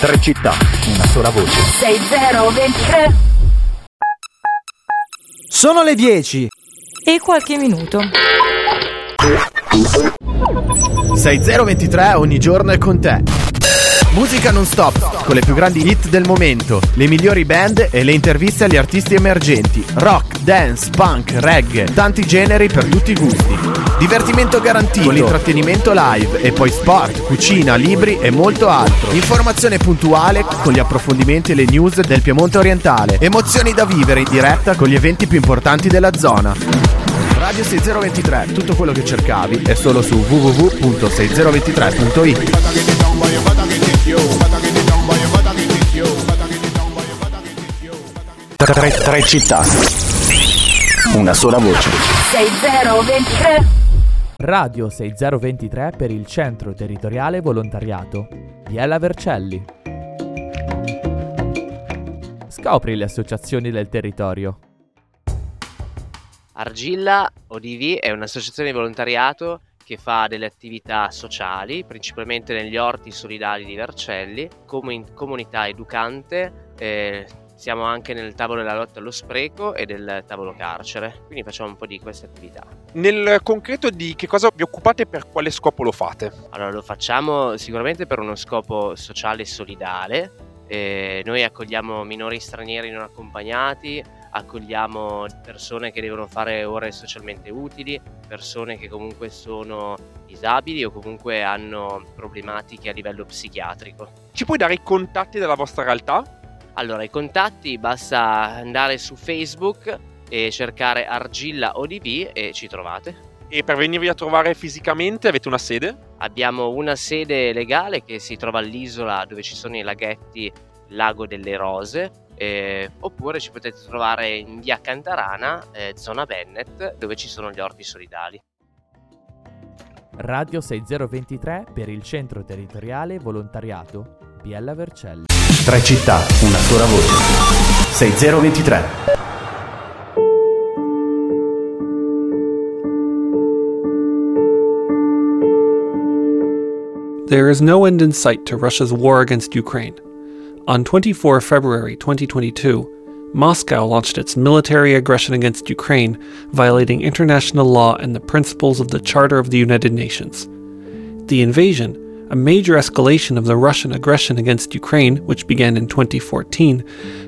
Tre città, una sola voce. 6023. Sono le 10. E qualche minuto. 6023 ogni giorno è con te. Musica non stop, con le più grandi hit del momento, le migliori band e le interviste agli artisti emergenti. Rock, dance, punk, reggae, tanti generi per tutti i gusti. Divertimento garantito, con l'intrattenimento live e poi sport, cucina, libri e molto altro. Informazione puntuale con gli approfondimenti e le news del Piemonte orientale. Emozioni da vivere in diretta con gli eventi più importanti della zona. Radio 6023, tutto quello che cercavi è solo su www.6023.it. Tre, tre città. Una sola voce. 6023. Radio 6023 per il Centro Territoriale Volontariato. Biella Vercelli. Scopri le associazioni del territorio. Argilla ODV è un'associazione di volontariato che fa delle attività sociali, principalmente negli orti solidali di Vercelli, come in comunità educante, siamo anche nel tavolo della lotta allo spreco e del tavolo carcere, quindi facciamo un po' di queste attività. Nel concreto di che cosa vi occupate e per quale scopo lo fate? Allora, lo facciamo sicuramente per uno scopo sociale e solidale. Noi accogliamo minori stranieri non accompagnati, accogliamo persone che devono fare ore socialmente utili, persone che comunque sono disabili o comunque hanno problematiche a livello psichiatrico. Ci puoi dare i contatti della vostra realtà? Allora, i contatti basta andare su Facebook e cercare Argilla ODV e ci trovate. E per venirvi a trovare fisicamente avete una sede? Abbiamo una sede legale che si trova all'isola dove ci sono i laghetti Lago delle Rose, oppure ci potete trovare in via Cantarana, zona Bennett, dove ci sono gli orti solidali. Radio 6023 per il Centro Territoriale Volontariato Biella Vercelli. Tre città, una sola voce. 6023. There is no end in sight to Russia's war against Ukraine. On 24 February 2022, Moscow launched its military aggression against Ukraine, violating international law and the principles of the Charter of the United Nations. The invasion, a major escalation of the Russian aggression against Ukraine, which began in 2014,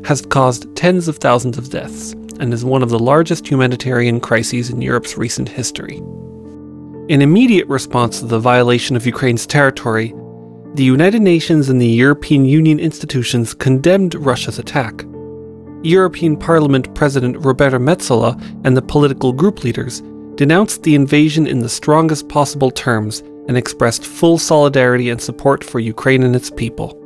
has caused tens of thousands of deaths and is one of the largest humanitarian crises in Europe's recent history. In immediate response to the violation of Ukraine's territory, the United Nations and the European Union institutions condemned Russia's attack. European Parliament President Roberta Metsola and the political group leaders denounced the invasion in the strongest possible terms and expressed full solidarity and support for Ukraine and its people.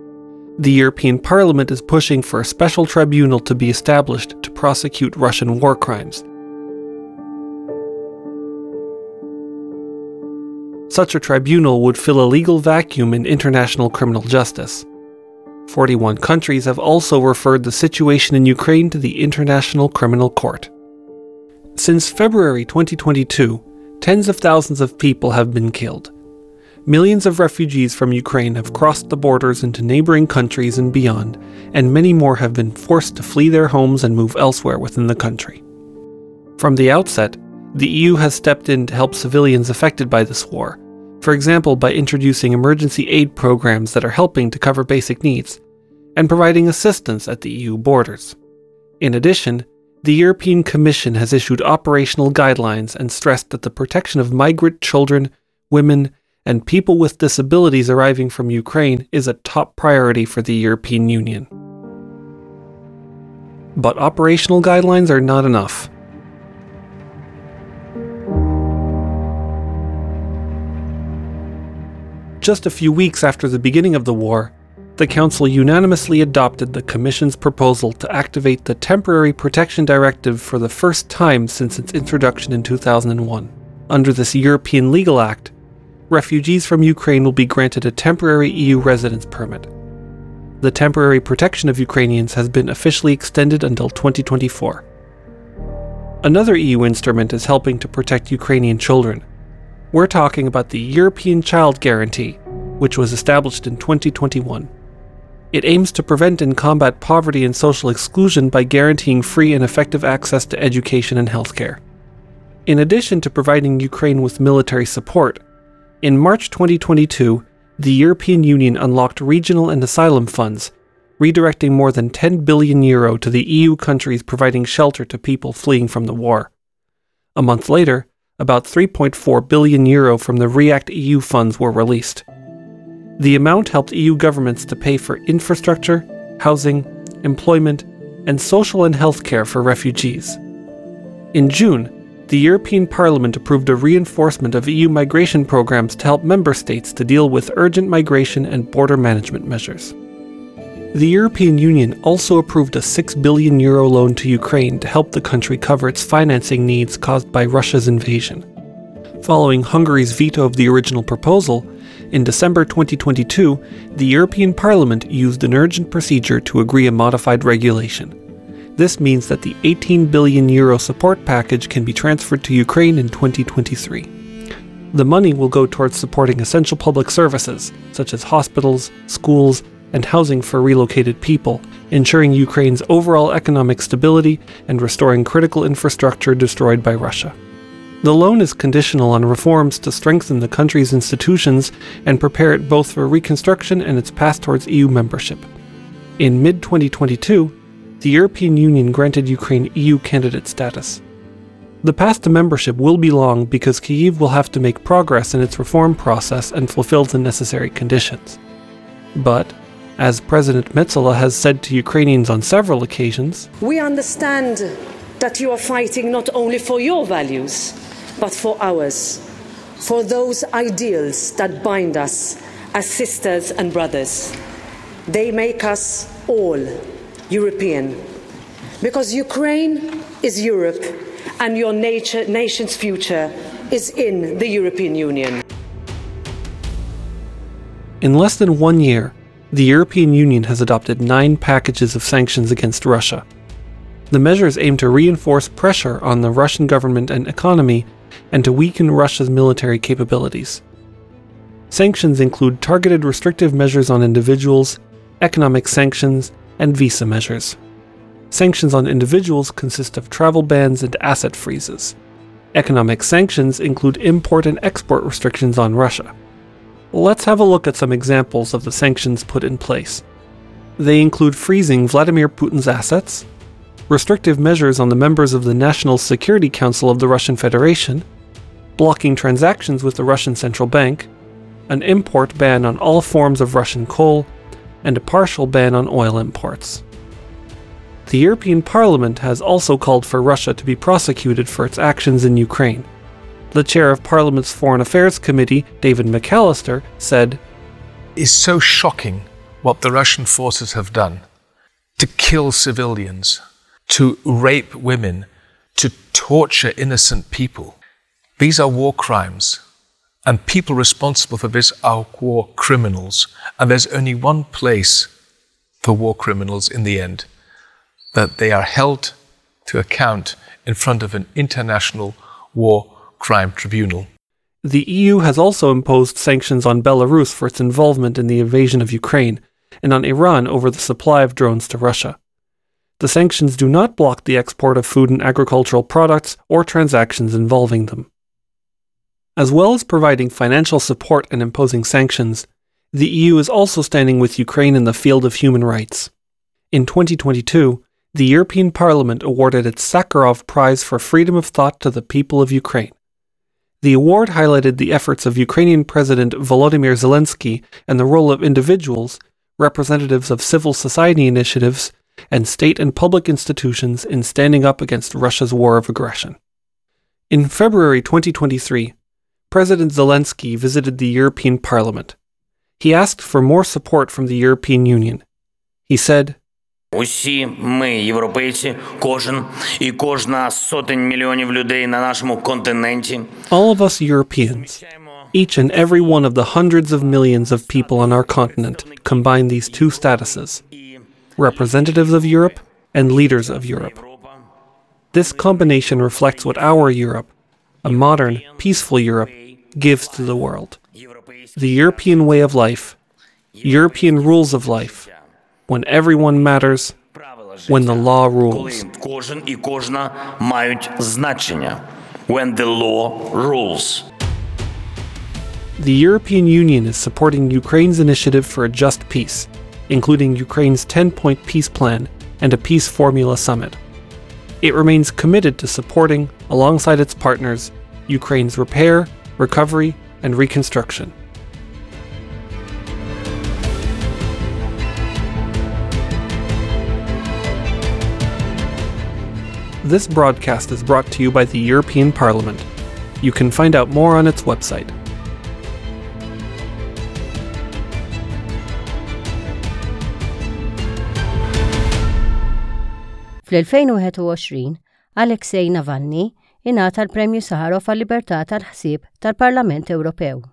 The European Parliament is pushing for a special tribunal to be established to prosecute Russian war crimes. Such a tribunal would fill a legal vacuum in international criminal justice. 41 countries have also referred the situation in Ukraine to the International Criminal Court. Since February 2022, tens of thousands of people have been killed. Millions of refugees from Ukraine have crossed the borders into neighboring countries and beyond, and many more have been forced to flee their homes and move elsewhere within the country. From the outset, the EU has stepped in to help civilians affected by this war, for example by introducing emergency aid programs that are helping to cover basic needs, and providing assistance at the EU borders. In addition, the European Commission has issued operational guidelines and stressed that the protection of migrant children, women, and people with disabilities arriving from Ukraine is a top priority for the European Union. But operational guidelines are not enough. Just a few weeks after the beginning of the war, the Council unanimously adopted the Commission's proposal to activate the Temporary Protection Directive for the first time since its introduction in 2001. Under this European legal act, refugees from Ukraine will be granted a temporary EU residence permit. The temporary protection of Ukrainians has been officially extended until 2024. Another EU instrument is helping to protect Ukrainian children. We're talking about the European Child Guarantee, which was established in 2021. It aims to prevent and combat poverty and social exclusion by guaranteeing free and effective access to education and healthcare. In addition to providing Ukraine with military support, in March 2022, the European Union unlocked regional and asylum funds, redirecting more than 10 billion euro to the EU countries providing shelter to people fleeing from the war. A month later, about 3.4 billion euro from the REACT EU funds were released. The amount helped EU governments to pay for infrastructure, housing, employment, and social and health care for refugees. In June, the European Parliament approved a reinforcement of EU migration programs to help member states to deal with urgent migration and border management measures. The European Union also approved a 6 billion euro loan to Ukraine to help the country cover its financing needs caused by Russia's invasion. Following Hungary's veto of the original proposal, in December 2022, the European Parliament used an urgent procedure to agree a modified regulation. This means that the 18 billion euro support package can be transferred to Ukraine in 2023. The money will go towards supporting essential public services, such as hospitals, schools, and housing for relocated people, ensuring Ukraine's overall economic stability and restoring critical infrastructure destroyed by Russia. The loan is conditional on reforms to strengthen the country's institutions and prepare it both for reconstruction and its path towards EU membership. In mid 2022, the European Union granted Ukraine EU candidate status. The path to membership will be long because Kyiv will have to make progress in its reform process and fulfill the necessary conditions. But, as President Metsola has said to Ukrainians on several occasions, We understand that you are fighting not only for your values, but for ours, for those ideals that bind us as sisters and brothers. They make us all European. Because Ukraine is Europe and your nature, nation's future is in the European Union. In less than one year, the European Union has adopted nine packages of sanctions against Russia. The measures aim to reinforce pressure on the Russian government and economy and to weaken Russia's military capabilities. Sanctions include targeted restrictive measures on individuals, economic sanctions, and visa measures. Sanctions on individuals consist of travel bans and asset freezes. Economic sanctions include import and export restrictions on Russia. Let's have a look at some examples of the sanctions put in place. They include freezing Vladimir Putin's assets, restrictive measures on the members of the National Security Council of the Russian Federation, blocking transactions with the Russian Central Bank, an import ban on all forms of Russian coal, and a partial ban on oil imports. The European Parliament has also called for Russia to be prosecuted for its actions in Ukraine. The chair of Parliament's Foreign Affairs Committee, David McAllister, said, It's so shocking what the Russian forces have done to kill civilians, to rape women, to torture innocent people. These are war crimes, and people responsible for this are war criminals. And there's only one place for war criminals in the end that they are held to account in front of an international war crime tribunal. The EU has also imposed sanctions on Belarus for its involvement in the invasion of Ukraine and on Iran over the supply of drones to Russia. The sanctions do not block the export of food and agricultural products or transactions involving them. As well as providing financial support and imposing sanctions, the EU is also standing with Ukraine in the field of human rights. In 2022, the European Parliament awarded its Sakharov Prize for Freedom of Thought to the people of Ukraine. The award highlighted the efforts of Ukrainian President Volodymyr Zelensky and the role of individuals, representatives of civil society initiatives, and state and public institutions in standing up against Russia's war of aggression. In February 2023, President Zelensky visited the European Parliament. He asked for more support from the European Union. He said, Усі ми, європейці, кожен і кожна з сотень мільйонів людей на нашому континенті. All of us Europeans, each and every one of the hundreds of millions of people on our continent combine these two statuses representatives of Europe and leaders of Europe. This combination reflects what our Europe, a modern, peaceful Europe, gives to the world. The European way of life, European rules of life, When everyone matters, when the law rules. Коли кожен і кожна мають значення. When the law rules. The European Union is supporting Ukraine's initiative for a just peace, including Ukraine's 10 point peace plan and a peace formula summit. It remains committed to supporting, alongside its partners, Ukraine's repair, recovery, and reconstruction. This broadcast is brought to you by the European Parliament. You can find out more on its website. Fl-2021, Alexei Navalny ingħata l-Premju Sakharov għal-Libertà tal-Ħsieb tal-Parlament Ewropew.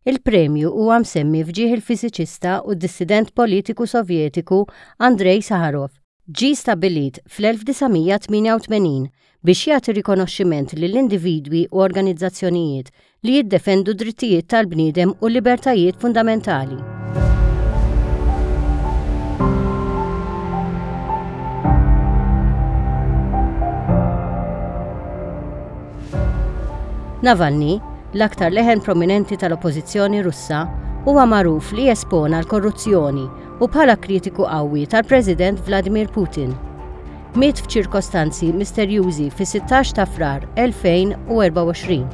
Il-premju huwa msemmi f'ġieħ il-fiżiċista u dissident politiku Sovjetiku Andrei Sakharov. Ġie stabbilit fl-1988 biex jagħti rikonoxximent lil individwi u organizzazzjonijiet li jiddefendu d-drittijiet tal-bniedem u l-libertajiet fundamentali. Navalny, l-aktar leħen prominenti tal-Oppożizzjoni Russa, huwa magħruf li espona l-korruzzjoni u bħala kritiku qawwi tal-President Vladimir Putin. Miet f'ċirkostanzi misterjużi fis-16 ta' Frar 2024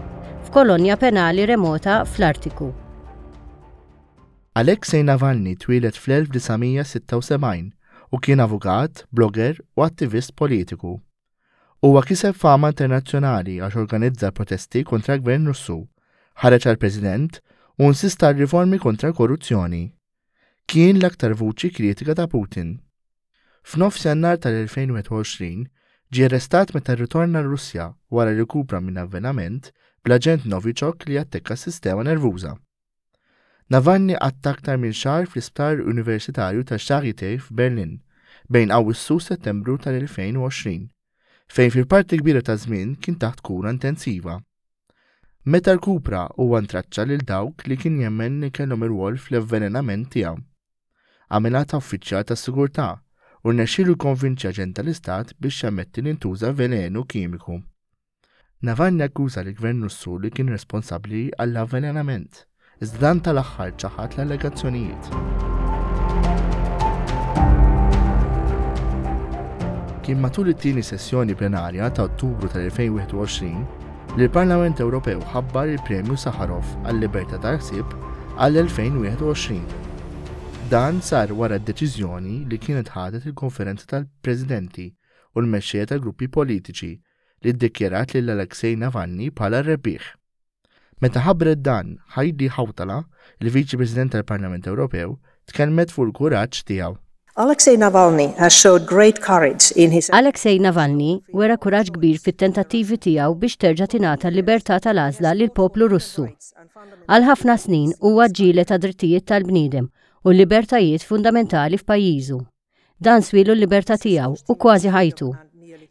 f'kolonja penali remota fl-Artiku. Alexei Navalny twieled fl-1976 u kien avukat, blogger u attivist politiku. Huwa kiseb fama internazzjonali għax organizza protesti kontra l-gvern Russu, ħareġ għal President u insista għal riformi kontra l-korruzzjoni. Kien l-aktar vuċi kritika ta' Putin. F'nofs Jannar tal-2021 ġie arrestat meta rritorna r-Russja wara li rkupra minn avvenament bl-aġent Novichok li jattekka s-sistema nervuża. Navalny qatta' aktar minn xahar fl-Isptar Universitarju ta' Charité f'Berlin bejn Awwissu u Settembru tal-2020, fejn fil-parti l-kbira taż-żmien kien taħt kura intensiva. Meta rkupra huwa ntraċċa lil dawk li kien jemmen li kellhom irwol fl-avvelenament tiegħu. Għamilha ta' uffiċjal tas-sigurtà u rnexxielu jikkonvinċi aġent tal-istat biex jammetti li ntuża velenu kimiku. Navalny akkuża lill-Gvern Russu li kien responsabbli għall-avvelenament, iżda dan tal-aħħar ċaħad l-allegazzjonijiet. Kien matul it-tieni sessjoni plenarja ta' Ottubru tal-2021 li l-Parlament Ewropew ħabbar il-Premju Sakharov għal-Libertà tal-Ħsieb għall-2021. Dan sar wara d-deċiżjoni li kienet ħadet il-Konferenza tal-Presidenti u l-mexxejja tal-gruppi politiċi li ddikjarat lil Alexei Navalny bħala r-rebbieħ. Meta ħabbret dan, Heidi Hautala, il-Viċi President tal-Parlament Ewropew, tkellmet fuq il-kuraġġ tiegħu. Alexei Navalny has showed great courage in his Alexei Navalny wera kuraġġ kbir fit-tentattivi tiegħu biex terġa' tingħata l-libertà tal-għażla lill-poplu Russu. Għal ħafna snin huwa ġġieled għad-drittijiet tal-bniedem u l-libertajiet fundamentali f'pajjiżu. Dan swielu l-libertà tiegħu u kważi ħajtu.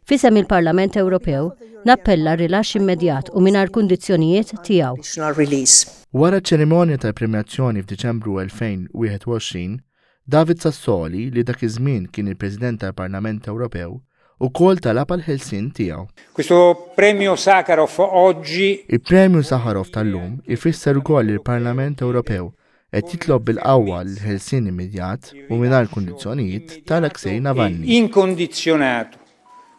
F'isem il-Parlament Ewropew, nappella r-rilaxx immedjat u mingħajr kundizzjonijiet tiegħu. Wara ċ-ċerimonja tal-premjazzjoni f'Diċembru 2021, David Sassoli, li dak iż-żmien kien il-President tal-Parlament Ewropew, ukoll talab għall-ħelsien tiegħu. Questo premio Sakharov oggi Il-Premju Sakharov tal-lum ifisser ukoll li l-Parlament Ewropew qed jitlob bil-qawwa l-ħelsien immedjat u mingħajr kundizzjonijiet ta' Alexei Navalny. Incondizionato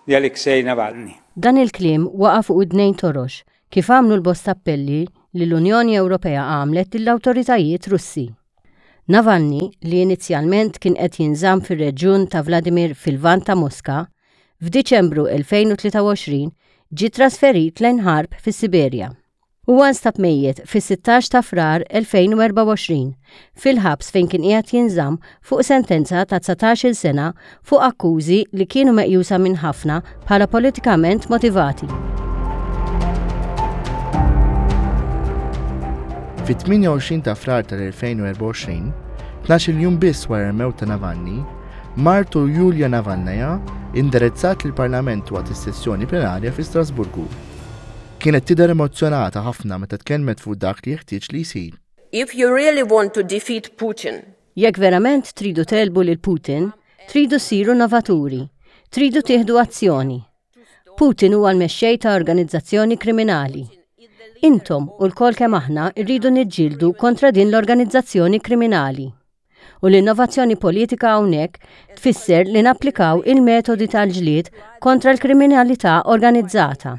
di Alexei Navalny. Dan il-kliem waqa' fuq widnejn torox, kif għamlu l-bosta appelli li l-Unjoni Ewropea għamlet lill-awtoritajiet Russi. Navalny, li inizjalment kien qed jinżamm fir-reġjun ta' Vladimir fil-Lvant ta' Moska, f'Diċembru 2023 ġie trasferit lejn Kharp fis-Siberja. Huwa nstab mejjet fis-16 ta' Frar 2024 fil-ħabs fejn kien qiegħed jinżamm fuq sentenza ta' 19-il sena fuq akkużi li kienu meqjusa minn ħafna bħala politikament motivati. Fit-28 ta' Frar tal-2024, 12-il jum biss wara l-mewt ta' Navalny, martu Yulia Navalnaya indirizzat lill-Parlament waqt is-sessjoni plenarja fi Strasburgu. Kienet tidher emozzjonata ħafna meta tkellmet fuq dak li jeħtieġ li jsir. If you really want to defeat Putin, Jekk verament tridu tegħlbu lil Putin, tridu ssiru innovaturi, tridu tieħdu azzjoni. Putin huwa l-mexxej ta' organizzazzjoni kriminali. Intom u lkoll kemm aħna rridu niġġieldu kontra din l-organizzazzjoni kriminali. U l-innovazzjoni politika hawnhekk tfisser li napplikaw il-metodi tal-ġlied kontra l-kriminalità organizzata.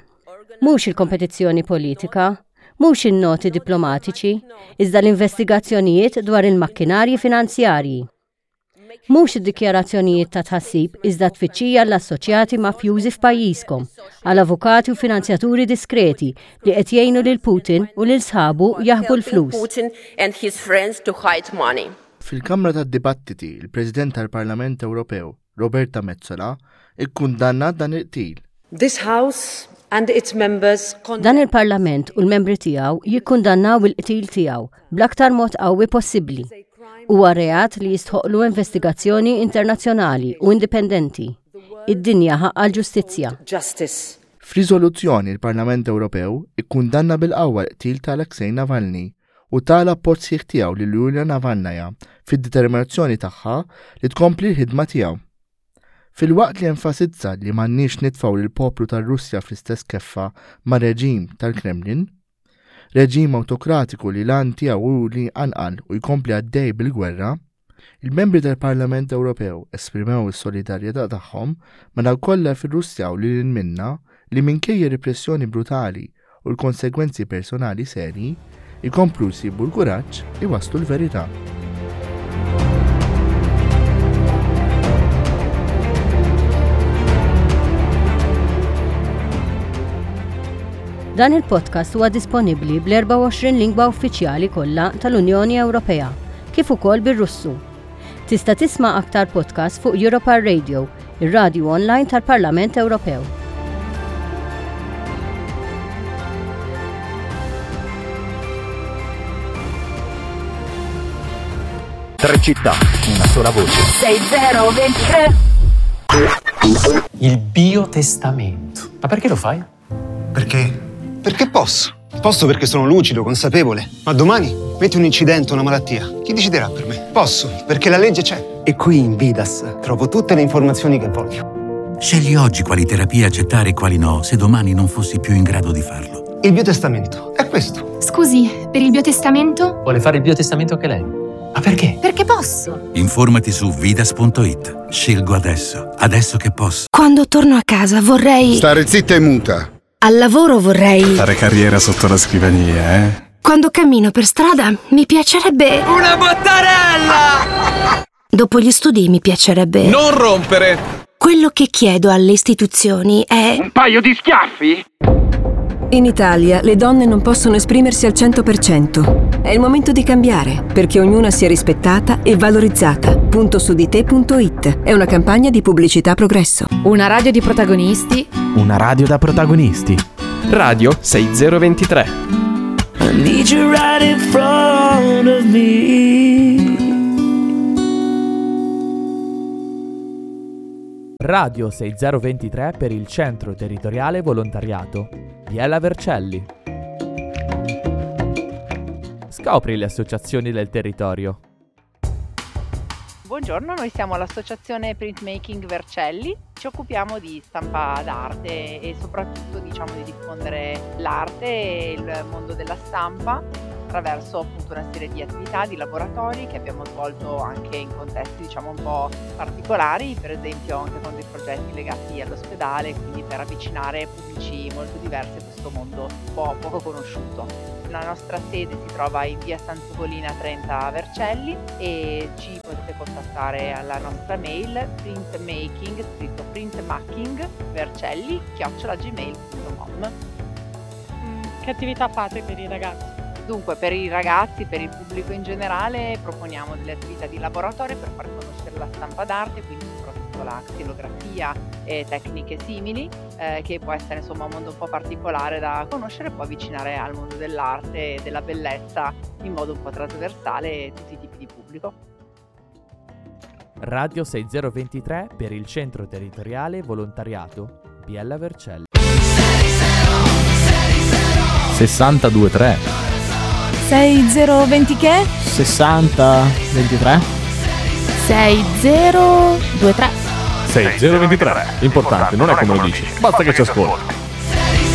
Mhux il-kompetizzjoni politika, mhux in-noti diplomatiċi, iżda l-investigazzjonijiet dwar il-makkinarji finanzjarji. Mhux id-dikjarazzjonijiet ta' tħassib iżda tfittxija l-assoċjati mafjużi f'pajjiżkom, għal avukati u finanzjaturi diskreti li qed jgħinu lil Putin u lil sħabu jaħbu l-flus. Putin and his friends to hide money. Fil-Kamra tad-Dibattiti, il-President tal-Parlament Ewropew, Roberta Metsola, ikkundannat dan il-qtil. This House and its members Dan il-Parlament u l-membri tiegħu jikkundannaw il-qtil tiegħu bl-aktar mod qawwi possibbli. Huwa reat li jistħoqqlu investigazzjoni internazzjonali u indipendenti. Id-dinja ħaqqha l-ġustizzja. Justice. F'riżoluzzjoni l-Parlament Ewropew ikkundanna bil-qawwa l-qtil ta' Alexei Navalny u ta l-appoġġ sħiħ tiegħu lil Yulia Navalnaya fid-determinazzjoni tagħha li tkompli l-ħidma tiegħu. Filwaqt li enfasizza li m'għandniex nitfgħu lill-poplu tar-Russja fl-istess keffa mar-reġim tal-Kremlin, reġim awtokratiku li l-għan tiegħu hu li jqanqal u jkompli għaddej bil-gwerra, il-membri tal-Parlament Ewropew esprimew is-solidarjetà tagħhom ma' dawk kollha fir-Russja u lil hinn minnha li minkejja repressjoni brutali u l-konsegwenzi personali serji, ikomplu jsibu l-kuraġġ iwasslu l-verità. Dan il-podcast huwa disponibbli bl-24 lingwa uffiċjali kollha tal-Unjoni Ewropea, kif ukoll bir-Russu. Tista' tisma' aktar podcasts fuq Europar Radio, ir-radju online tal-Parlament Ewropew. Tre città, una sola voce. 6023. Il biotestamento. Ma perché lo fai? Perché? Perché posso. Posso perché sono lucido, consapevole. Ma domani metti un incidente, una malattia. Chi deciderà per me? Posso, perché la legge c'è. E qui in Vidas trovo tutte le informazioni che voglio. Scegli oggi quali terapie accettare e quali no, se domani non fossi più in grado di farlo. Il biotestamento è questo. Scusi, per il biotestamento? Vuole fare il biotestamento anche lei? Ma perché? Perché posso. Informati su vidas.it. Scelgo adesso, adesso che posso. Quando torno a casa vorrei. Stare zitta e muta. Al lavoro vorrei. Fare carriera sotto la scrivania, eh? Quando cammino per strada mi piacerebbe. Una bottarella! Dopo gli studi mi piacerebbe. Non rompere! Quello che chiedo alle istituzioni è. Un paio di schiaffi? In Italia le donne non possono esprimersi al 100%. È il momento di cambiare, perché ognuna sia rispettata e valorizzata. Punto su di te.it è una campagna di pubblicità progresso. Una radio di protagonisti. Una radio da protagonisti. Radio 6023. I need you right in front of me. Radio 6023 per il Centro Territoriale Volontariato. Biella Vercelli. Scopri le associazioni del territorio. Buongiorno, noi siamo l'associazione Printmaking Vercelli, ci occupiamo di stampa d'arte e soprattutto diciamo di diffondere l'arte e il mondo della stampa attraverso appunto una serie di attività, di laboratori che abbiamo svolto anche in contesti diciamo un po' particolari, per esempio anche con dei progetti legati all'ospedale, quindi per avvicinare pubblici molto diversi a questo mondo un po' poco conosciuto. La nostra sede si trova in via Sant'Ugolina 30 a Vercelli e ci potete contattare alla nostra mail printmaking, scritto printmaking, vercelli, gmail.com. Che attività fate per i ragazzi? Dunque, per i ragazzi, per il pubblico in generale, proponiamo delle attività di laboratorio per far conoscere la stampa d'arte, quindi soprattutto la xilografia e tecniche simili, che può essere insomma un mondo un po' particolare da conoscere, può avvicinare al mondo dell'arte e della bellezza in modo un po' trasversale tutti i tipi di pubblico. Radio 6023 per il Centro Territoriale Volontariato Biella Vercelli. 623 6020 che? 60 23. 6023. 6023. Importante, non è come lo dici. Basta che ci ascolti.